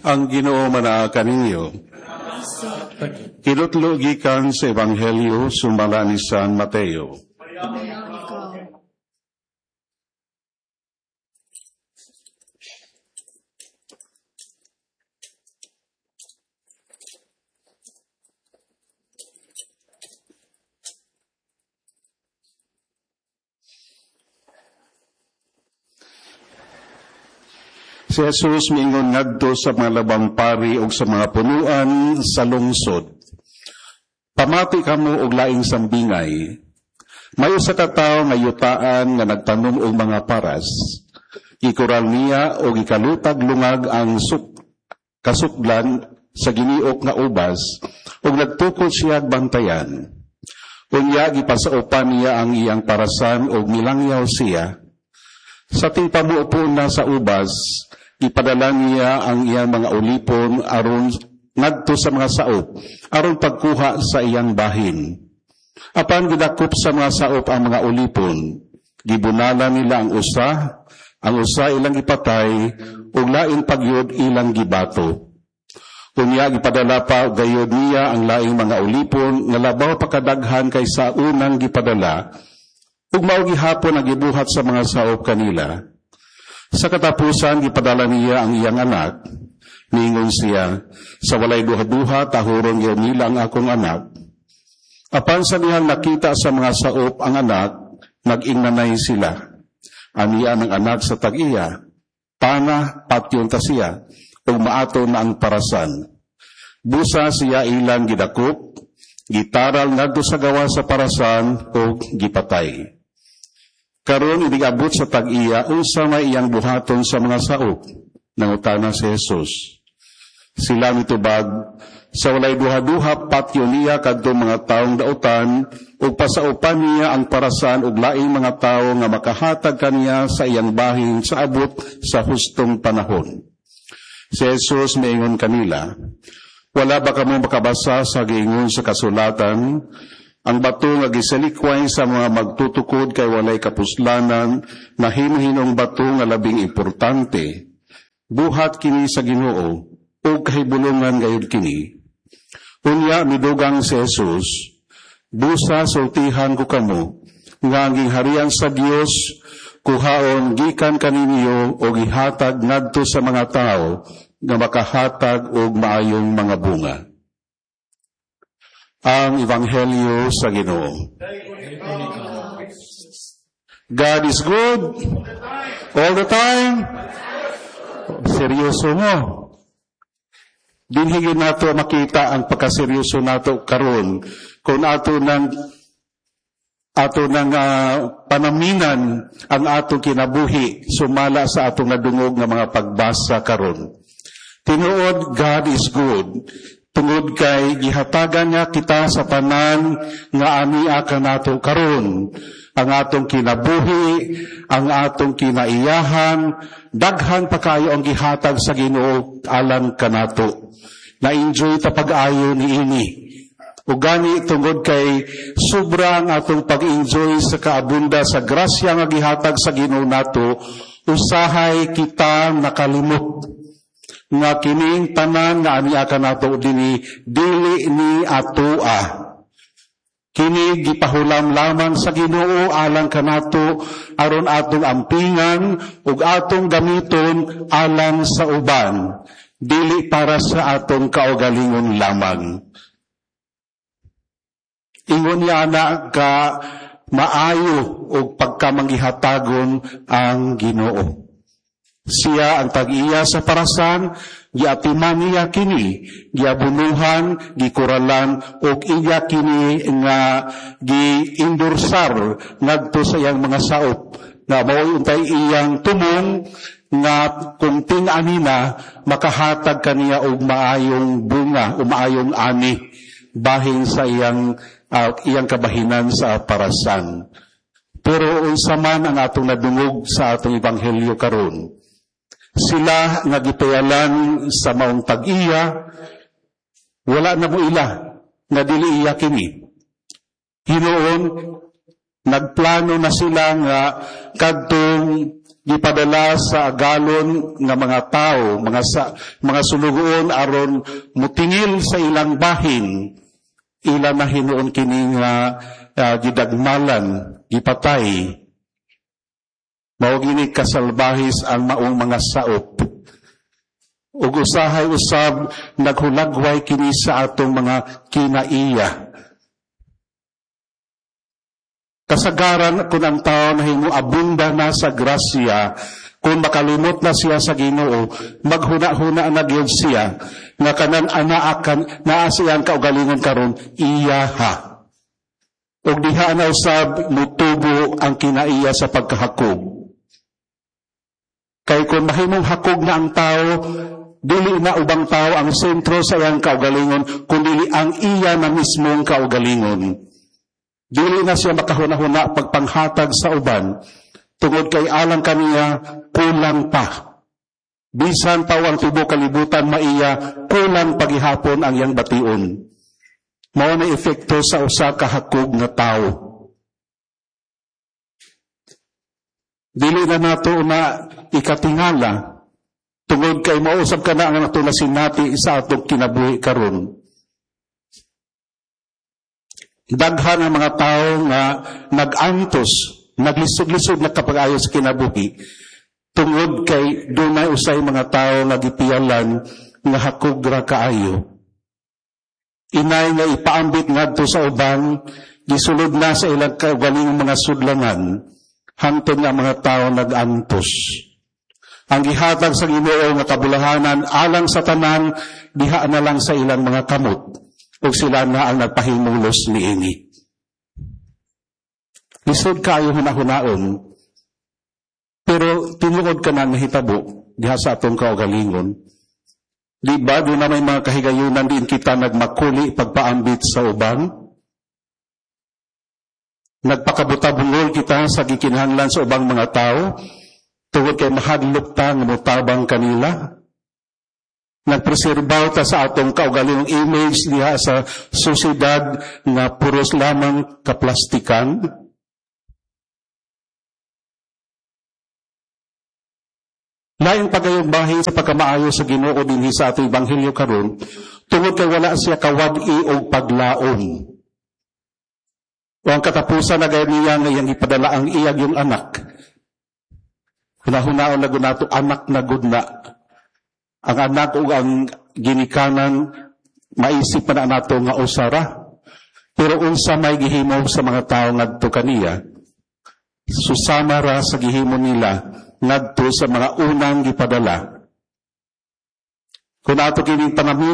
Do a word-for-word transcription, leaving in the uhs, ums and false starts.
Ang Ginoo manaa kaninyo. Kinutlo gikan sa Ebanghelyo sumala ni San Mateo. Si Jesus miingon ngadto sa mga labang pari ug sa mga punuan sa lungsod. Pamati kamo og laing sambingay. May usa ka tawo nga yutaan nga nagtanom og mga paras. Gikural niya og gikalutag lungag ang suk kasuklan sa giniok nga ubas ug nagtukod siya bantayan. Unya gipasaupan niya ang iyang parasan ug milangyaw siya. Sa tingpamupo na sa ubas, ipadala niya ang iyang mga ulipon aron ngadto sa mga saop, aron pagkuha sa iyang bahin. Apan gidakop sa mga saop ang mga ulipon, gibunala nila ang usa, ang usa ilang gipatay, ug lain pagyud ilang gibato. Unya gipadala pa gayud niya ang laing mga ulipon nga labaw pa kadaghan kaysa unang gipadala, ug mao gihapon ang gibuhat sa mga saop kanila. Sa katapusan, gipadala niya ang iyang anak. Niingon siya, sa walay duha-duha, tahuron gyud nila ang akong anak. Apan sa dihang nakita sa mga saop ang anak, nag-ingnanay sila. Aniya ang anak sa tag-iya, pana, patyon ta siya, ug maato na ang parasan. Busa siya ilang gidakop, gitaral ngadto sa gawa sa parasan, ug gipatay. Karon inigabot sa tag-iya, unsa may iyang buhaton sa mga saop? Nangutana si Jesus. Sila mitubag, sa walay duha-duha patyo niya kadtong mga taong dautan, ug pasaupan niya ang parasan ug laing mga tawo nga makahatag kaniya sa iyang bahin sa abot sa hustong panahon. Si Jesus miingon kanila, wala ba kamo makabasa sa giingon sa kasulatan? Ang bato nga gisalikway sa mga magtutukod kay walay kapuslanan, nahimo-hinong bato nga labing importante. Buhat kini sa Ginoo, ug kahibulungan gayud kini. Unya midugang si Jesus, busa sultihan ko kamo, nga ang gingharian sa Dios kuhaon gikan kaninyo og ihatag ngadto sa mga tawo nga makahatag og maayong mga bunga. Ang Ebanghelyo sa Ginoo. God is good all the time. Seryoso mo. Dinhi gyud nato makita ang pagkaseryoso nato karon kung ato nang ato nang uh, panaminan ang atong kinabuhi sumala sa atong nadungog nga mga pagbasa karon. Tinuod, God is good. Tungod kay gihatagan niya kita sa tanan nga ania kanato karon. Ang atong kinabuhi, ang atong kinaiyahan, daghan pa kayo ang gihatag sa Ginoo alang kanato. Na-enjoy ta pag-ayo niini. Ug gani tungod kay sobra ang atong pag-enjoy sa kaabunda sa grasya nga gihatag sa Ginoo nato, usahay kita nakalimot nga kining tanan nga ania kanato dinhi dili ni atoa. Kini gipahulam lamang sa Ginoo alang kanato aron atong ampingan ug atong gamiton alang sa uban, dili para sa atong kaugalingon lamang. Ingon niya ana ka maayo og pagkamanggihatagon ang Ginoo. Siya ang tag-iya sa parasan, giatiman niya kini, giabunuhan, gikuralan, ug iya kini nga giindursar ngadto sa iyang mga saop, na mao'y untay iyang tumong nga kung ting-ani na makahatag kaniya og maayong bunga o maayong ani bahin sa iyang uh, iyang kabahinan sa parasan. Pero unsa man ang atong nadungog sa atong ebanghelyo karon, sila nga gipayalan sa maong tag-iya, wala na mo ila nga dili iya kini. Hinuon, nagplano na sila nga kadtong Gipadala sa agalon nga mga tao, mga sa, mga sulugoon aron mutingil sa ilang bahin. Ila na hinuon kini nga uh, gidagmalan, gipatay. Mao gini kasalbahis ang maong mga saop. Ug usahay usab naghulagway kini sa atong mga kinaiya. Kasagaran kung ang tao nahimo abunda na sa grasya, kung makalimot na siya sa Ginoo, maghuna-huna na gyud siya nga kanan anaakan naa siyang kaugalingon karon, iyaha. Ug diha na usab mutubo ang kinaiya sa pagkahakog. Kay kung mahimong hakog na ang tao, dili na ubang tao ang sentro sa iyang kaugalingon, kundi ang iya na mismong kaugalingon. Dili na siya makahuna-huna pagpanghatag sa uban, tungod kay alang kaniya, kulang pa. Bisan pa ang tibuok kalibutan maiya, kulang pagihapon ang iyang bation. Mao na epekto sa usa ka hakog nga tawo. Dili na nato na ikatingala, tungod kay mausab ka na ang nato na sinati sa atong kinabuhi karon. Daghan ang mga tao nga nag-antos, naglisod-lisod na kapag-ayo sa kinabuhi, tungod kay dunay usay mga tao nga gipiyalan nga hakog ra kaayo. Inay nga ipaambit ngadto sa uban, gisulod na sa ilang kaugalingong mga sudlanan, hangtod nga mga tao nag-antos. Ang gihatag sa Ginoo nga kabulahanan alang sa tanan, diha na lang sa ilang mga kamot, ug sila na ang nagpahimulos niini. Lisod kaayo hunahunaon, pero tinuod ka na nahitabo diha sa atong kaugalingon. Di ba doon na may mga kahigayunan din kita nagmakuli pagpaambit sa uban? Nagpakabuta-bungol kita sa gikinahanglan sa ubang mga tao, tungod kay mahadlok ta nga motabang kanila. Nagpreserbaw ta sa atong kaugalingong image diha sa sosyedad nga puros lamang kaplastikan. Laing pagayong bahin sa pagkamaayo sa Ginoo dinhi sa atong ebanghelyo karon, tungod kay wala siya kawad-i og paglaom. O ang katapusan na gayud niya nga iyang ipadala ang iyang yung anak. Hunahunaon na gud nato, anak na gud na. Ang anak ug ang ginikanan, maisip pa na nato nga usara. Pero unsa may gihimo sa mga tawo ngadto kaniya, susama ra sa gihimo nila ngadto sa mga unang gipadala. Kung ato kining pangamin